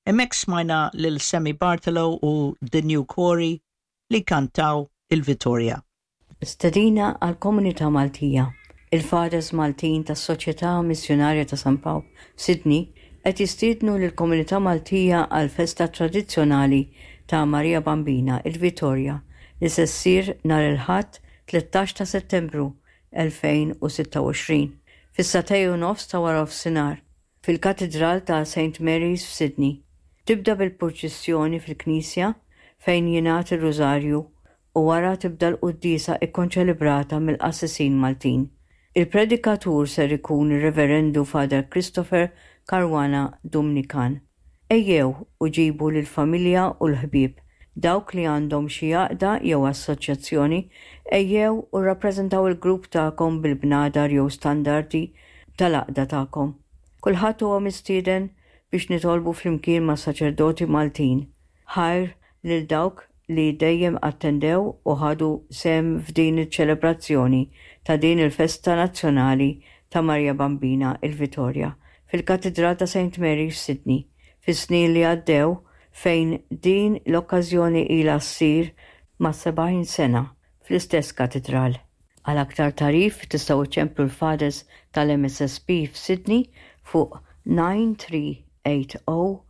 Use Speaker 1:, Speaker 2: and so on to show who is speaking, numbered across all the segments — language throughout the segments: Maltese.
Speaker 1: Hemmhekk smajna lil Sammy Bartolo u The New Quarry li kantaw il-Vitorja.
Speaker 2: Stedina għall-komunità Maltija. Il-Fathers Maltin tas-Soċjetà Missjunarja ta' San Pawl f'Sydney qed jistiednu lill-komunità Maltija għall-festa tradizzjonali ta' Marija Bambina, il-Vitorja, li se ssir nhar il-Ħadd 13 ta' Settembru 2026, fis-sagħtej u nofs ta' waranofsinhar, fil-Katidral ta' Saint Mary's f'Sydney. Tibda bil-purċissjoni fil-knisja fejn jingħad ir-Rużarju u wara tibda l-quddiesa kkonċelebrata mill-qassisin Maltin. Il-predikatur ser ikun ir-Reverendu Father Christopher Caruana Dumnikan. Ejjew u ġibu lill-familja u l-ħbieb, dawk li għandhom xi għaqda jew assoċjazzjoni, ejjew u rrappreżentaw il-grupp tagħkom bil-bnadar jew standardi tal-għaqda tagħkom. Kulħadd huwa mistieden biex nitolbu flimkien mas-saċerdoti Maltin. Ħajr lil dawk li dejjem attendew u ħadu sehem f'din iċ-ċelebrazzjoni ta' din il-festa nazzjonali ta' Marja Bambina il-Vitorja fil-Katidral ta' Saint Mary's f'Sydney fis-snin li għaddew fejn din l-okkażjoni ilha ssir mas-70 sena fl-istess katidral. Għal aktar tagħrif tistgħu iċċemplu l-Fathers tal-MSSP f'Sydney fuq 9380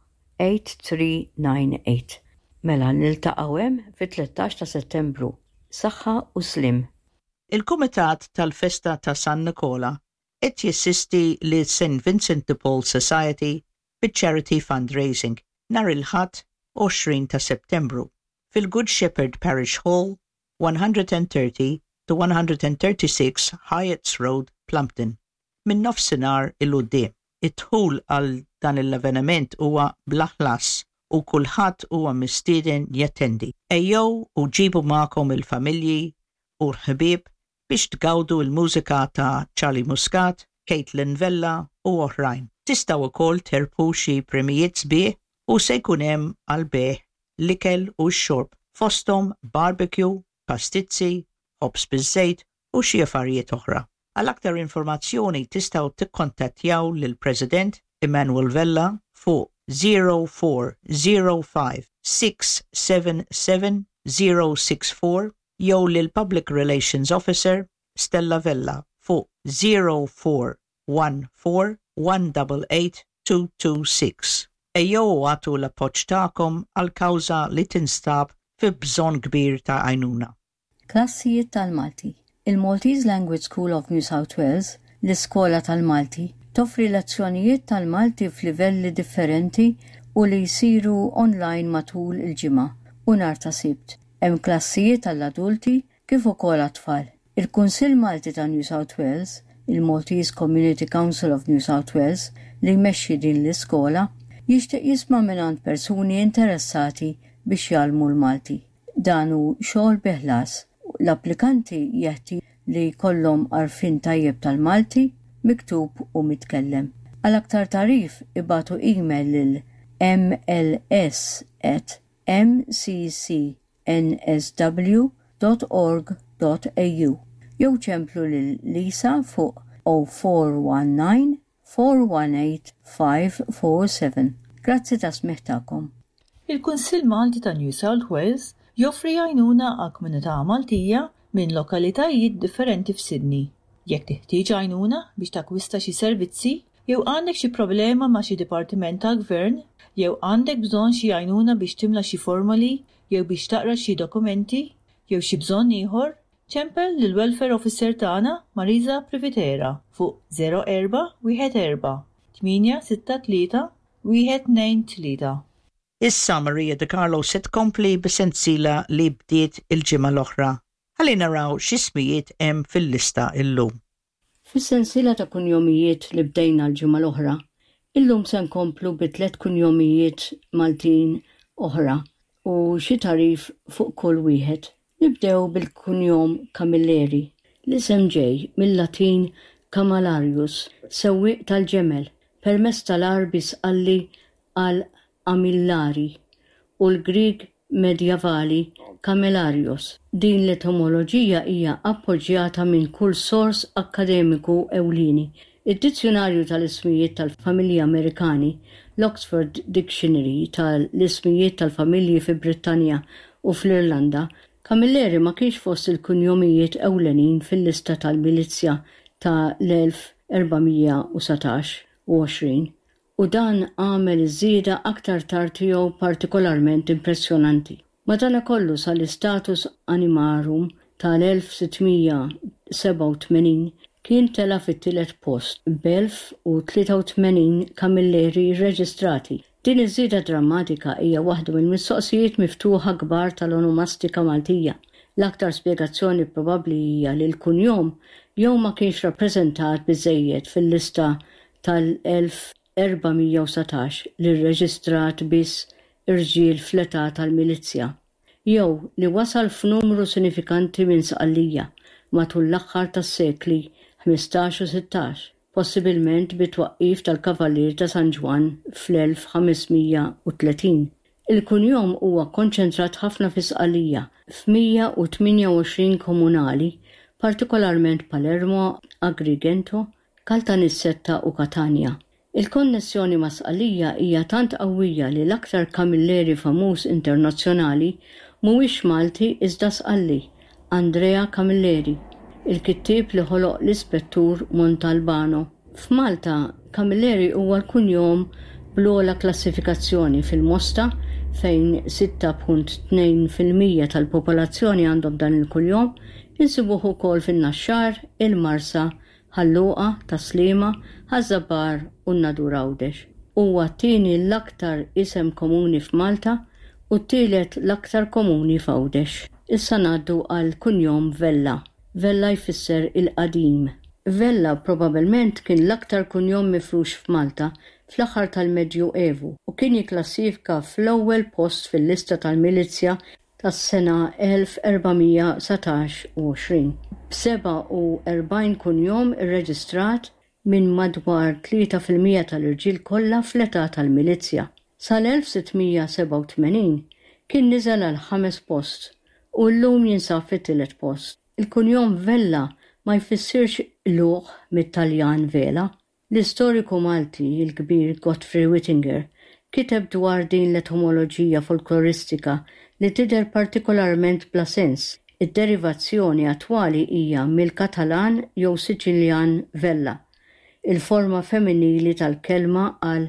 Speaker 2: 8398. Mela niltaqgħu hemm fit-13 ta' Settembru. Saħħa u sliem.
Speaker 1: Il-Kumitat tal-Festa ta' San Nikola qed jissisti lis-St Vincent de Paul Society biċ-Charity Fundraising nhar il-Ħadd 20 ta' Settembru fil-Good Shepherd Parish Hall, 130 to 136 Hyatt's Road, Plumpton, minn nofsinhar 'il quddiem. Id-dħul għal dan l-avveniment huwa bla ħlas u kulħadd huwa mistieden jattendi. Ejjew u ġibu magħkom il-familji u l-ħbieb biex tgawdu l-mużika ta' Charlie Muscat, Caitlin Vella u oħrajn. Tistgħu wkoll terbħu xi premijiet sbieħ u se jkun hemm għall-bejgħ l-ikel u x-xorb fosthom barbecue, pastizzi, ħobż biż-żejt u xi affarijiet oħra. Għal aktar informazzjoni tistgħu tikkontattjaw lill-President Emmanuel Vella fuq 0405 677 064 jew lill-Public Relations Officer Stella Vella fuq 0414 188 226. Ejjew u agħtu l-appoġġ tagħkom għal kawża li tinstab fi bżonn kbir ta' għajnuna.
Speaker 2: Klassijiet tal-Malti. Il-Maltese Language School of New South Wales, l-Iskola tal-Malti, toffri lezzjonijiet tal-Malti f'livelli differenti u li jsiru online matul il-ġimgħa u nhar ta' Sibt. Hemm klassijiet għall-adulti kif ukoll għat-tfal. Il-Kunsill Malti ta' New South Wales, il-Maltese Community Council of New South Wales, li jmexxi din l-iskola, jixtieq jisma' mingħand persuni interessati biex jgħallmu l-Malti. Dan hu xogħol bi ħlas. L-applikanti jeħtieġ li jkollhom għarfien tajjeb tal-Malti, miktub u mitkellem. Għal aktar tagħrif ibagħtu email lil mls@mccnsw.org.au jew ċemplu lil Lisa fuq 0419 418 547. Grazzi tas-smigħ tagħkom.
Speaker 3: Il-Kunsill Malti ta' New South Wales joffri għajnuna għall-komunità Maltija minn lokalitajiet differenti f'Sydney. Jekk teħtieġ għajnuna biex takkwista xi servizzi, jew għandek xi problema ma' xi dipartiment tal-gvern, jew għandek bżonn xi għajnuna biex timla xi formoli jew biex taqra xi dokumenti, jew xi bżonn ieħor, Ċempel lill-Welfare Officer tagħna Marisa Privitera fuq 04 14 863 123.
Speaker 1: Issa Maria De Carlo se tkompli bis-sensiela li bdiet il-ġimgħa l-oħra. Ħalli naraw x'ismijiet hemm fil-lista illum.
Speaker 2: Fis-sensiela ta' kunjomijiet li bdejna l-ġimgħa l-oħra, illum se nkomplu bi tlett kunjomijiet Maltin oħra u xi tagħrif fuq kull wieħed. Nibdew bil-kunjom Camilleri. L-isem ġej mil-Latin camalarius, sewwieq tal-ġemel, permezz tal-Għarbi Sqalli għal Amillari u l-Grieg Medjavali camelarios. Din l-etimoloġija hija appoġġjata minn kull sors akkademiku ewlieni. Id-Dizzjunarju tal-Ismijiet tal-Familji Amerikani, l-Oxford Dictionary ta' l-Ismijiet tal-Familji fi Brittanja u fl-Irlanda, Camilleri ma kienx fost il-kunjomijiet ewlenin fil-lista tal-milizzja ta' l-1419 u 20, u dan għamel iż-żieda aktar tard tiegħu partikolarment impressjonanti. Madanakollu sal-Status Animarum tal-1687 kien tela' fit-tielet post b'1083 Camilleri rreġistrati. Din iż-żieda drammatika hija waħda mill-mistoqsijiet miftuħa kbar tal-onomastika Maltija. L-aktar spjegazzjoni probabbli hija li l-kunjom jew ma kienx rappreżentat biżżejjed fil-lista tal-1419 li rreġistrat biss irġiel fl-età tal-milizzja, jew li wasal f'numru sinifikanti minn Sqallija matul l-aħħar tas-sekli 15 u 16, possibilment bit-twaqqif tal-Kavallieri ta' San Ġwann fl-1530. Il-kunjom huwa kkonċentrat ħafna fi Sqallija, f'128 komunali, partikolarment Palermo, Agrigento, Caltanissetta u Katanja. Il-konnessjoni ma' Sqallija hija tant qawwija li l-aktar Camilleri famuż internazzjonali mhuwiex Malti iżda Sqalli, Andrea Camilleri, il-kittieb li ħoloq l-Ispettur Montalbano. F'Malta, Camilleri huwa l-kunjom bl-ogħla klassifikazzjoni fil-Mosta fejn 6.2% tal-popolazzjoni għandhom dan il-kunjom, insibuh ukoll fin-Naxxar, il-Marsa, Ħal Luqa, Tas-Sliema, Ħaż-Żabbar u n-Nadur Għawdex. Huwa t-tieni l-aktar isem komuni f'Malta u t-tielet l-aktar komuni f'Għawdex. Issa ngħaddu għall-kunjom Vella. Vella jfisser il-qadim. Vella probabbilment kien l-aktar kunjom mifrux f'Malta fl-aħħar tal-Medju Evu u kien jikklassifika fl-ewwel post fil-lista tal-milizzja tas-sena 1429, b'47 kunjom irreġistrat minn madwar 3% tal-irġiel kollha fl-età tal-milizzja. Sal-1687 kien niżel għall-ħames post u llum jinsab fit-tielet post. Il-kunjom Vella ma jfissirx qlugħ mit-Taljan vela. L-istoriku Malti l-kbir Godfrey Wittinger kiteb dwar din l-etomoloġija folkloristika li tidher partikolarment bla sens. Id-derivazzjoni attwali hija mill-Katalan jew Siċiljan vella, il-forma femminili tal-kelma għal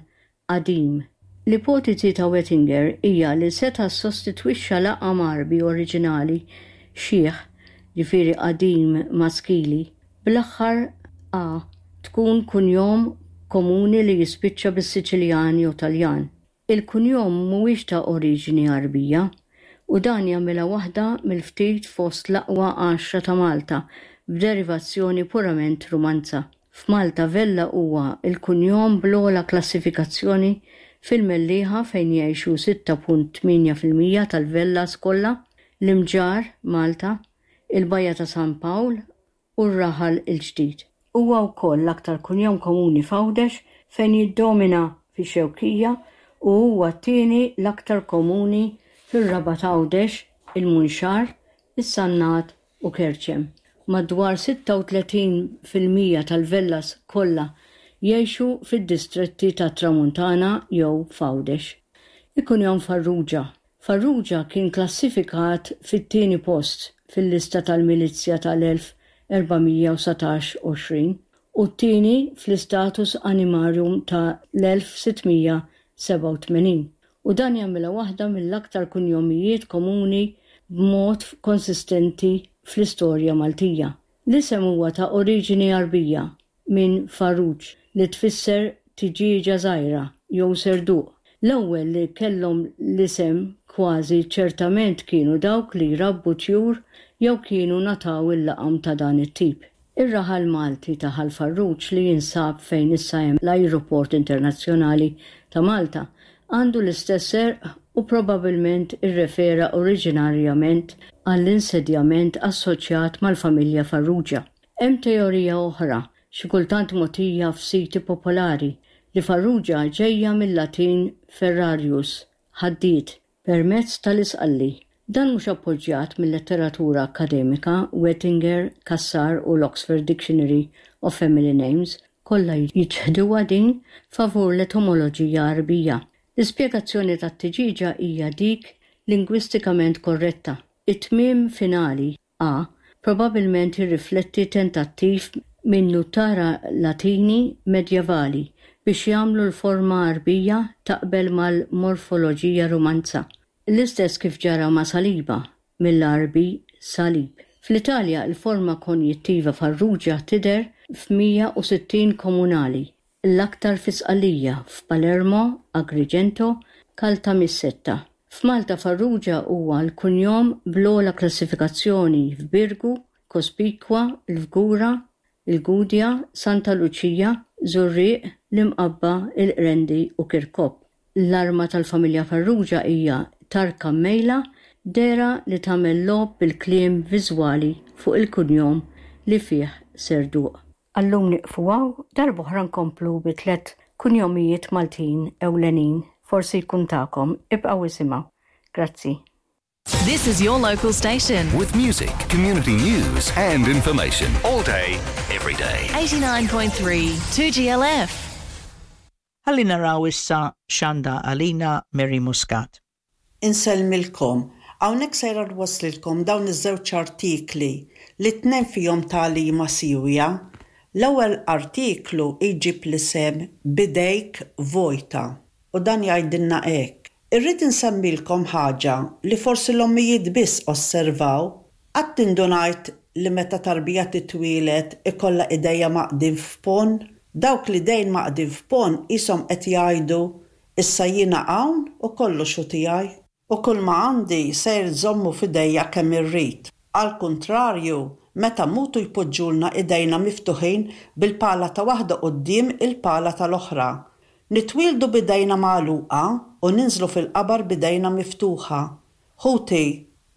Speaker 2: qadim. L-ipotiżi ta' Wettinger hija li seta' ssostitwixxa laqam Għarbi oriġinali xiħ, ġifieri qadim maskili, bl-aħħar a tkun kunjom komuni li jispiċċa bis-Siċiljan jew Taljan. Il-kunjom mhuwiex ta' oriġini Għarbija, u dan jagħmilha waħda mill-ftit fost l-aqwa għaxra ta' Malta b'derivazzjoni purament Rumanza. F'Malta Vella huwa l-kunjom bl-ogħla klassifikazzjoni fil-Mellieħa fejn jgħixu 6.8% tal-Vellas kollha, l-Imġarr, Malta, il-Bajja ta' San Pawl u r-Raħal il-Ġdid. Huwa wkoll l-aktar kunjom komuni f'Għawdex fejn jiddomina fix-Xewkija u huwa t-tieni l-aktar komuni fir-Rabat Għawdex, il-Munxar, is-Sannat u Kerċem. Madwar 36% tal-Vellas kollha jgħixu fid-distretti tat-Tramuntana jew f'Għawdex. Il-kunjom Farrugia. Farrugia kien klassifikat fit-tieni post fil-lista tal-milizzja tal-1419 20 u t-tieni fl-Status Animarum ta' l-1687. u dan jagħmilha waħda mill-aktar kunjomijiet komuni b'mod konsistenti fl-istorja Maltija. L-isem huwa ta' oriġini Għarbija, minn faruġ, li tfisser tiġieġa żgħira jew serduq. L-ewwel li kellhom l-isem kważi ċertament kienu dawk li jrabbu tjur jew kienu ngħataw il-laqam ta' dan it-tip. Ir-raħal Malti ta' Ħal Farruġ li jinsab fejn issa hemm l-Ajruport Internazzjonali ta' Malta għandu l-istess għerq u probabbilment irrefera oriġinarjament għall-insedjament assoċjat mal-familja Farrugia. Hemm teorija oħra, xi kultant mogħtija f'siti popolari, li Farrugia ġejja mil-Latin ferrarius, ħaddied, Permezz tal-Isqalli. Dan mhux appoġġjat mil-letteratura akkademika, Wettinger, Cassar u l-Oxford Dictionary of Family Names. Kollha jiċħduha din favur l-etomoloġija Għarbija. L-ispjegazzjoni tat-tiġieġa hija dik lingwistikament korretta. It-tmiem finali, a, probabbilment jirrifletti tentattiv minn nutara Latini medjevali biex jagħmlu l-forma Għarbija taqbel mal-morfoloġija Rumanza. L-istess kif ġara ma' saliba, mill-Għarbi salib. Fl-Italja il-forma konjittiva farrugia tidher f'160 komunali, l-aktar fi Sqallija, f'Palermo, Agrigento, Caltanissetta. F'Malta Farrugia huwa l-kunjom bl-ogħla klassifikazzjoni f'Birgu, Cospicua, il-Fgura, il-Gudja, Santa Luċija, Żurrieq, l-Imqabba, il-Qrendi u Kirkop. L-arma tal-familja Farrugia hija tarka mmejla, dehra li tagħmel logħob bil-kliem viżwali fuq il-kunjom li fih serduq. Għal-lum nieqfu hawn, darb'oħra nkomplu bi tlett kunjomijiet Maltin ewlenin, forsi jkun tagħkom, ibqgħu isimgħu. Grazzi.
Speaker 4: This is your local station.
Speaker 5: With music, community news, and information all day, every day.
Speaker 4: 89.3 2GLF.
Speaker 1: Ħalli naraw issa x'għandha għalina Mary Muscat.
Speaker 6: Insellmilkom. Hawnhekk sejra nwasslilkom dawn iż-żewġ artikli li t-tnejn fihom tagħlima siewja. L-ewwel artiklu jġib l-isem B'idejk vojta u dan jgħidilna hekk, Irrid insemmilkom ħaġa li forsi l-ommijiet biss osservaw. Qatt indunajt li meta tarbija titwieled ikollha idejha mgħaqqdin f'ponn? Dawk l-idejn mgħaqqdin f'ponn qishom qed jgħidu, 'Issa jiena hawn u kollox hu tiegħi. U kulma għandi sejr nżommu f'idejja kemm irrid. Għall-kuntrarju, meta mmutu jpoġġulna idejna miftuħin bil-pala ta' waħda quddiem il-pala tal-oħra. Nitwieldu b'idejna magħluqa u ninżlu fil-qabar b'idejna miftuħa. Ħuti,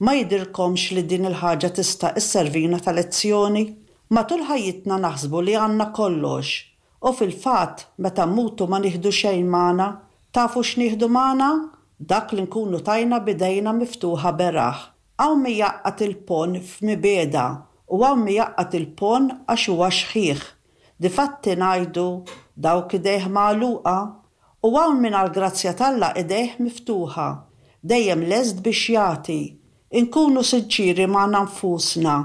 Speaker 6: ma jidhirlkomx li din il-ħaġa tista' sservina ta' lezzjoni? Matul ħajjitna naħsbu li għandna kollox. U fil-fatt, meta mmutu ma nieħdu xejn magħna. Tafu x'nieħdu magħna? Dak li nkunu tajna b'idejna miftuħa beraħ. Hawn min jgħaqqad il-ponn f'mibegħda u hawn min jgħaqqad il-ponn għax huwa xħiħ. Difatti ngħidu, dawk idejh magħluqa, u hawn min għall-grazzja t'Alla idejh miftuħa, dejjem lest biex jagħti. Inkunu sinċieri magħna nfusna,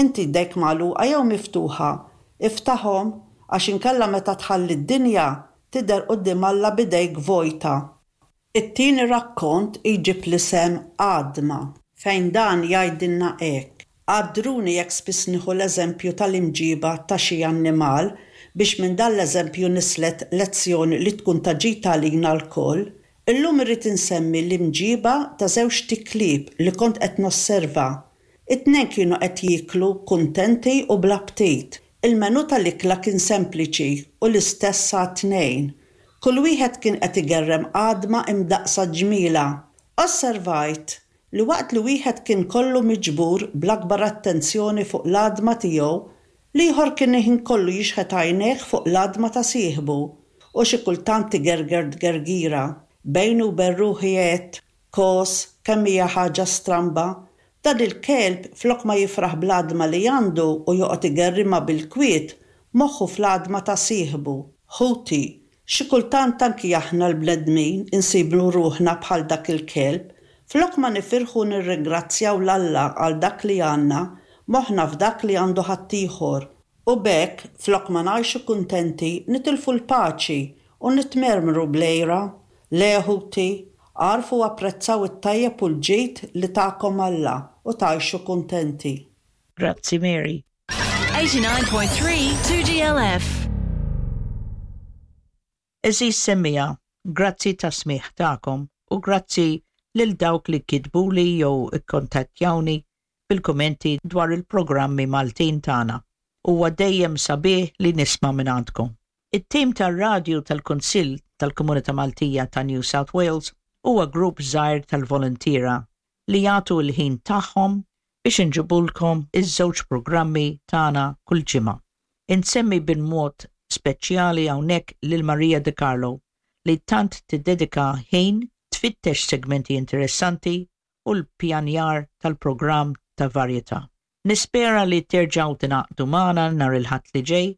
Speaker 6: inti jdejk magħluqa jew miftuħa? Iftaħhom, għax inkella meta tħalli d-dinja, tidher quddiem Alla b'idejk vojta. It-tieni rakkont jġib l-isem Għadma, fejn dan jgħidilna hekk, Għaddruni jekk spiss nieħu l-eżempju tal-imġiba ta' xi annimal biex minn dan l-eżempju nislet lezzjoni li tkun ta' ġid għalina lkoll. Illum irrid insemmi l-imġiba ta' żewġt iklieb li kont qed nosserva. It-tnejn kienu qed jieklu kuntenti u bl-aptit. Il-menù tal-ikla kien sempliċi u l-istess għat-tnejn. Kull wieħed kien qed igerrem għadma imdaqqsa ġmielha. Osservajt li waqt li wieħed kien kollu miġbur bl-akbar attenzjoni fuq l-għadma tiegħu, l-ieħor kien il-ħin kollu jixħet għajnejh fuq l-għadma ta' sieħbu u xi kultant igerger tgergira. Bejni u bejn ruħi għedt, Kos, kemm hija ħaġa stramba! Dan il-kelb, flok ma jifraħ bl-għadma li għandu u joqgħod igerrimha bil-kwiet, moħħu fl-għadma ta' sieħbu. Ħuti, xi kultant anki aħna l-bnedmin insibu ruħna bħal dak il-kelb, flok ma nifirħu u nirringrazzjaw 'l Alla għal dak li għandna, moħħna f'dak li għandu ħaddieħor. U b'hekk, flok ma ngħixu kuntenti, nitilfu l-paċi u nitmermru bl-għira. Le, ħuti, agħrfu u apprezzaw it-tajjeb u l-ġid li takom Alla u tgħixu kuntenti.
Speaker 1: Grazzi Mary.
Speaker 4: 89.3 2GLF.
Speaker 1: Għeżież semmiegħa, grazzi tas-smigħ tagħkom u grazzi lil dawk li kitbuli jew ikkontattjawni bil-kummenti dwar il-programmi Maltin tagħna. Huwa dejjem sabiħ li nisma' mingħandkom. It-tim tar-radju tal-Kunsill tal-Komunità Maltija ta' New South Wales huwa grupp żgħir tal-voluntiera li jagħtu l-ħin tagħhom biex inġibulkom iż-żewġ programmi tagħna kull ġimgħa. Insemmi b'mod speċjali hawnhekk lil Maria De Carlo li tant tiddedika ħin tfittex segmenti interessanti u l-ppjanjar tal-programm ta' varjetà. Nispera li terġgħu tingħaqdu magħna nhar il-Ħadd li ġej.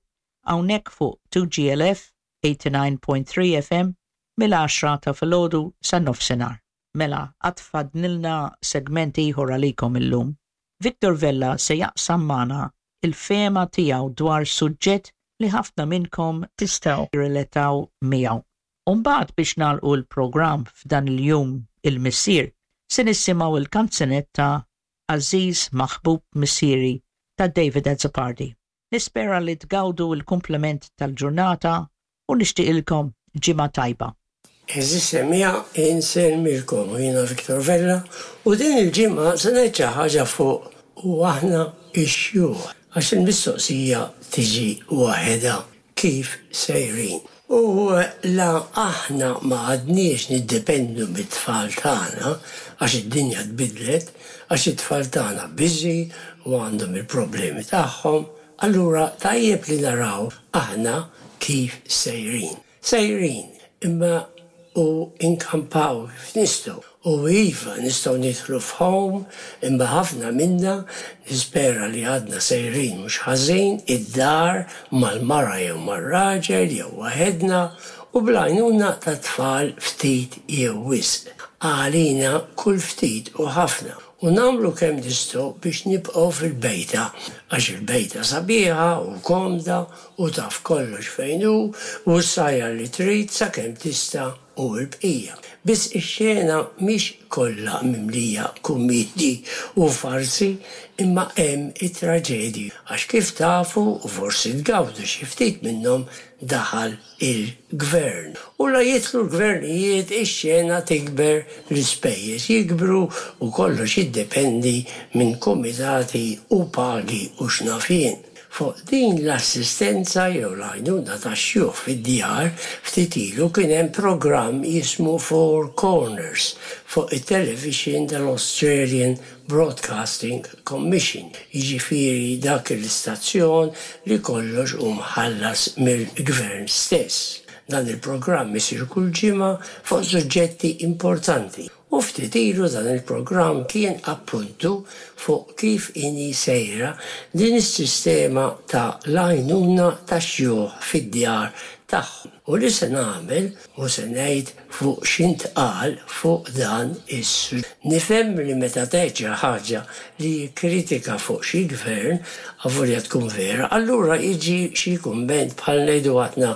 Speaker 1: hawnhekk fuq 2GLF 89.3 FM mill-għaxra ta' filgħodu sa nofsinhar. Mela, għad fadlilna segment ieħor għalikom illum. Victor Vella se jaqsam magħna l-fehma tiegħu dwar suġġett li ħafna minnkom tistgħu tirrelataw miegħu. U mbagħad biex nagħlqu l-programm f'dan il-Jum il-Missier, se nisimgħu l-kanzunetta Għażiż Maħbub Missieri ta' David Azzopardi. Nispera li tgawdu l-kumplament tal-ġurnata u nixtieqilkom ġimgħa tajba.
Speaker 7: Għeżież semmiegħa, insellmilkom u jiena Victor Vella u din il-ġimgħa se ngħid xi ħaġa fuq u aħna x-xjuħ għax il-mistoqsija tiġi waħedha kif sejrin. U la aħna ma għadniex niddependu mit-tfal tagħna għax id-dinja tbiddlet, għax it-tfal tagħna busy u għandhom il-problemi tagħhom, allura tajjeb li naraw aħna kif sejrin. Sejrin, imma u nkampaw kif nistgħu. U iva, nistgħu nidħlu f'home, imma ħafna minna, nispera li għadna sejrin mhux ħażin, id-dar, mal-mara jew mar-raġel jew waħedna, u bl-għajnuna tat-tfal ftit jew wisq. Għalina kull ftit hu ħafna. U nagħmlu kemm nistgħu biex nibqgħu fil-bejta, għax il-bejta sabiħa u komda u taf kollox fejn hu u ssajjar li trid sakemm tista' u l-bqija. Biss ix-xena mhix kollha mimlija kummiedji u farsi imma hemm it-traġedji għax kif tafu u forsi tgawdu xi ftit minnhom daħal il-gvern. U la jidħlu l-gvernijiet ix-xena tikber, l-ispejjeż jikbru u kollox jiddependi minn kumitati u pagi u x'naf jien. Fuq din l-assistenza jew l-għajnuna tax-xjuħ fid-djar, ftit ilu kien hemm programm jismu Four Corners fuq it-televixin tal-Australian Broadcasting Commission, jiġifieri dak l-istazzjon li kollox hu mħallas mill-gvern stess. Dan il-programm isir kull ġimgħa fuq suġġetti importanti. U ftit ilu dan il-programm kien appuntu fuq kif inhi sejra din is-sistema ta' l-għajnuna tax-xjuħ fid-djar tagħhom. U li se nagħmel u se ngħid fuq x'intqal fuq dan is. Nifhem li meta tgħid xi ħaġa li hi kritika fuq xi gvern, avolja tkun vera, allura jiġi xi kumment bħal ngħidu aħna,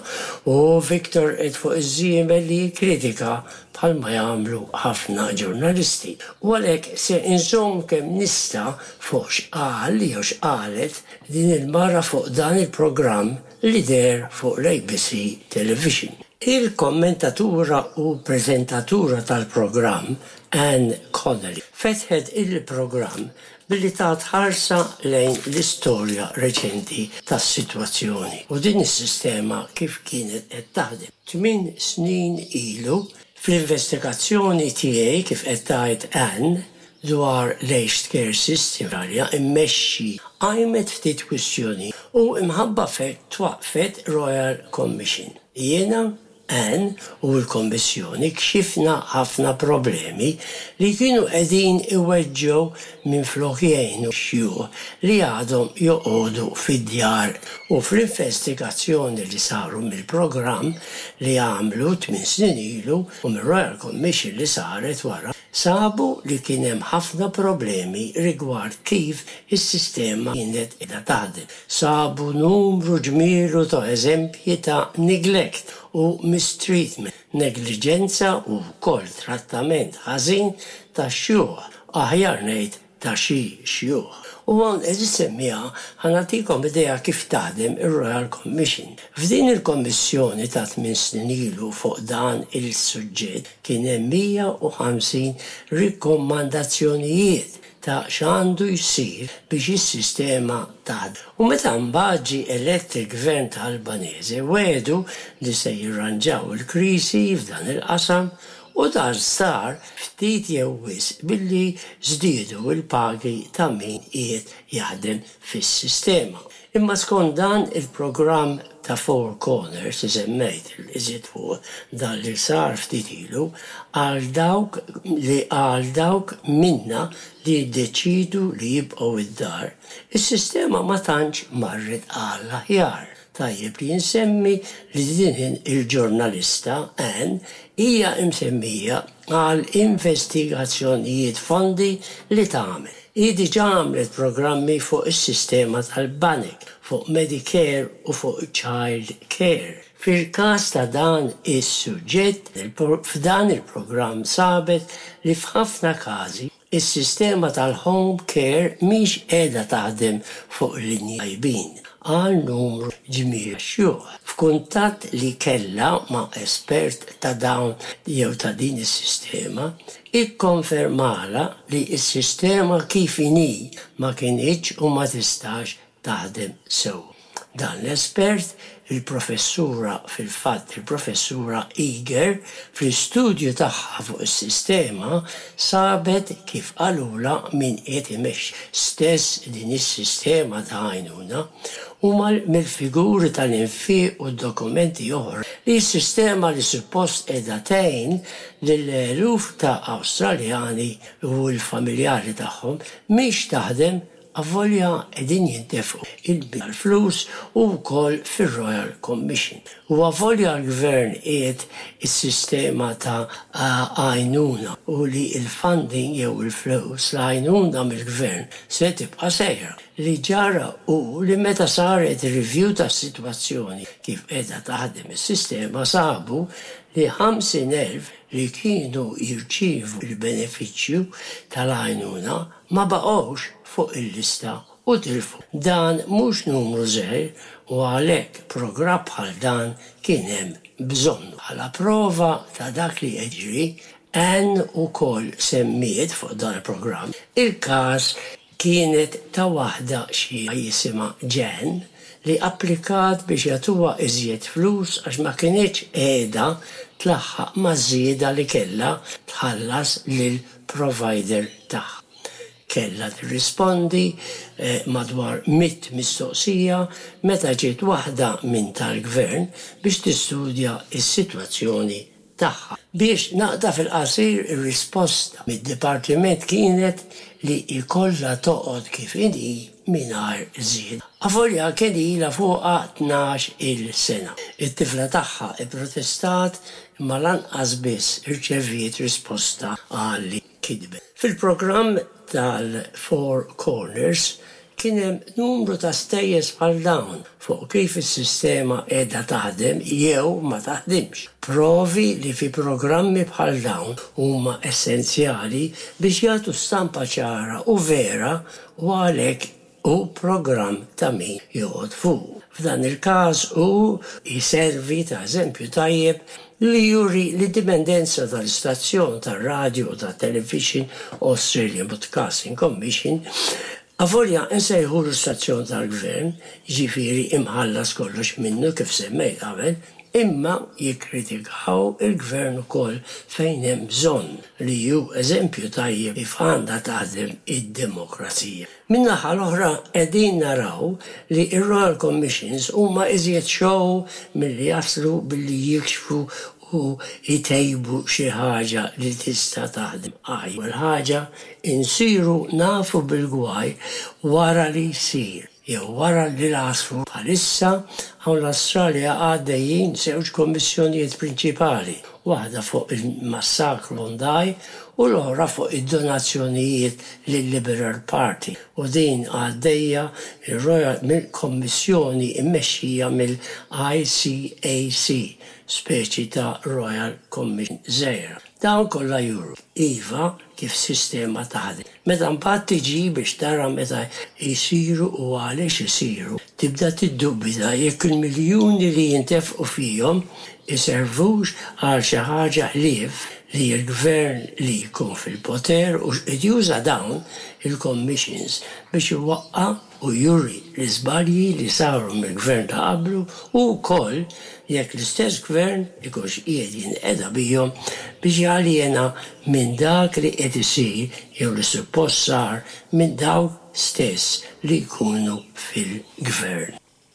Speaker 7: O Victor qed fuq iż-żiemel li jikkritika bħalma jagħmlu ħafna ġurnalisti, u għalhekk se inżomm kemm nista' fuq x'qal jew x'qalet din il-mara fuq dan il-programm li deher fuq l-ABC Television. Il-kommentatura u preżentatura tal-programm, Anne Connolly, fetħet il-programm billi tat ħarsa lejn l-istorja reċenti tas-sitwazzjoni u din is-sistema kif kienet qed taħdem. Tmin snin ilu, fl-investigazzjoni tiegħi, kif qed tgħid Anne, dwar l-aged care system fl-Awstralja mmexxi qajmet ftit kwistjoni u imħabba f'hekk twaqqfet Royal Commission. Jiena Anne u l-Kommissjoni kxifna ħafna problemi li kienu qegħdin iweġġgħu minflok jgħinu x-xjuħ li għadhom joqogħdu fid-djar u fl-investigazzjoni li saru mill-programm li għamlu tminn snin ilu u mir-Royal Commission li saret wara sabu li kien hemm ħafna problemi rigward kif is-sistema kienet qiegħda taħdem. Sabu numru ġmielu ta' eżempji ta' neglect u mistreatment, negliġenza u wkoll trattament ħażin tax-xjuħ, aħjar ngħid ta' xi xjuħ. U hawn qed issemmiha ħa nagħtikom idea kif taħdem ir-Royal Commission. F'din il-kommissjoni ta' tmien snin ilu fuq dan il-suġġett kien hemm 150 rikkommandazzjonijiet ta' x'għandu jsir biex is-sistema taħdem. U meta mbagħad ġie elett il-Gvern ta' Albanese wegħdu li se jirranġaw il-kriżi f'dan il-qasam u dan sar ftit jew wisq billi żdiedu l-pagi ta' min qiegħed jaħdem fis-sistema. Imma skont dan il-programm ta' Four Corners li semmejt iżjed fuq, dan li sar ftit ilu, għal dawk li għal dawk minna li jiddeċiedu li jibqgħu d-dar, is-sistema ma tantx marret għall-aħjar. Tajjeb li nsemmi li din il-ġurnalista, Ann, hija msemmija għal investigazzjonijiet fondi li tagħmel. Hi diġà għamlet programmi fuq is-sistema tal-banek, fuq Medicare u fuq Child Care. Fil-każ ta' dan is-suġġett, f'dan il-programm sabet li f'ħafna każi Is-sistema tal-home care mhix qiegħda taħdem fuq linji tajbin għal numru ġmiel ta' xjuħ. F'kuntatt li kellha ma' espert ta' dawn jew ta' din is-sistema, ikkonfermalha li s-sistema kif inhi ma kinitx u ma tistax taħdem sew. Dan l-espert, il-Professura, fil-fatt il-Professura Eager, fl-istudju tagħha fuq is-sistema sabet kif qalulha min qiegħed imexxi stess din is-sistema ta' għajnuna u mill-figuri tal-infiq u dokumenti oħra li s-sistema li suppost qiegħda tgħin lill-eluf ta' Awstraljani u l-familjari tagħhom mhix taħdem Avolja qegħdin jintefqu il-flus u wkoll fir-Royal Commission. U avolja l-Gvern qiegħed is-sistema ta' għajnuna u li l-funding jew il-flus, l-għajnuna mill-Gvern se tibqa' sejra. Li ġara hu li meta saret review tas-sitwazzjoni kif qiegħda taħdem is-sistema sabu li 50,000 li kienu jirċievu l-benefiċċju tal-għajnuna ma baqgħux fuq il-lista u tilfu. Dan mhux numru żgħir u għalhekk programm bħal dan kien hemm bżonnu. Bħala prova ta' dak li qed jiġri, Ann ukoll semmiet fuq dan il-programm il-każ kienet ta' waħda xi jisimha Jan li applikat biex jagħtuha iżjed flus għax ma kinitx qiegħda tlaħħaq maż-żieda li kellha tħallas lil provider tagħha. Kellha tirrispondi madwar mitt mistoqsija meta ġiet waħda minn tal-Gvern biex tistudja s-sitwazzjoni tagħha. Biex naqta' fil-qasir ir-risposta mid-Dipartiment kienet li jkollha toqgħod kif inhi mingħajr żieda. Avolja kien ilha fuqha 12-il sena. It-tifla tagħha pprotestat imma lanqas biss irċeviet risposta għal li kitbet. Fil-programm tal-Four Corners kien hemm numru ta' stejjes bħal dawn fuq kif is-sistema qiegħda taħdem jew ma taħdimx. Provi li fi programmi bħal dawn huma essenzjali biex jagħtu stampa ċara u vera u għalhekk hu programm ta' min joqgħod fuqu. F'dan il-każ hu jservi ta' eżempju tajjeb li juri l-indipendenza tal-istazzjon tar-radju u tat-televixin Australian Broadcasting Commission, avolja nsejħulu stazzjon tal-gvern, jiġifieri imħallas kollox minnu kif semmejt qabel, imma jikkritikaw il-gvern ukoll fejn hemm bżonn, li hu eżempju tajjeb kif għandha taħdem id-demokrazija. Min-naħa l-oħra qegħdin naraw li r-Royal Commissions huma iżjed show milli jaslu billi jikxfu u jtejbu xi ħaġa li tista' taħdem aħjar. L-ewwel ħaġa, insiru nafu bil-gwaj wara li jsir. Jew wara li l-għasfur Bħalissa hawn l-Awstralja għaddejjin żewġ kommissjonijiet prinċipali, waħda fuq il-massakru Bondi u l-oħra fuq id-donazzjonijiet lil-Liberal Party u din għaddejja mir-Royal mill-kommissjoni mmexxija mill-ICAC, speċi ta' Royal Commission żgħira. Dawn kollha juru, iva, kif sistema taħdem. Meta mbagħad tiġi biex tara meta jsiru u għaliex isiru, tibda tiddubita jekk il-miljuni li jintefqu fihom iservux għal xi ħaġa ħlief li l-gvern li jkun fil-poter hux qed juża dawn il-commissions biex iwaqqa' u juri l-iżbalji li saru mill-gvern ta' qablu u wkoll jekk l-istess gvern ikunx qiegħed jinqeda bihom biex jaljena minn dak li qed isir jew li suppost sar minn dawk stess li jkunu fil-gvern.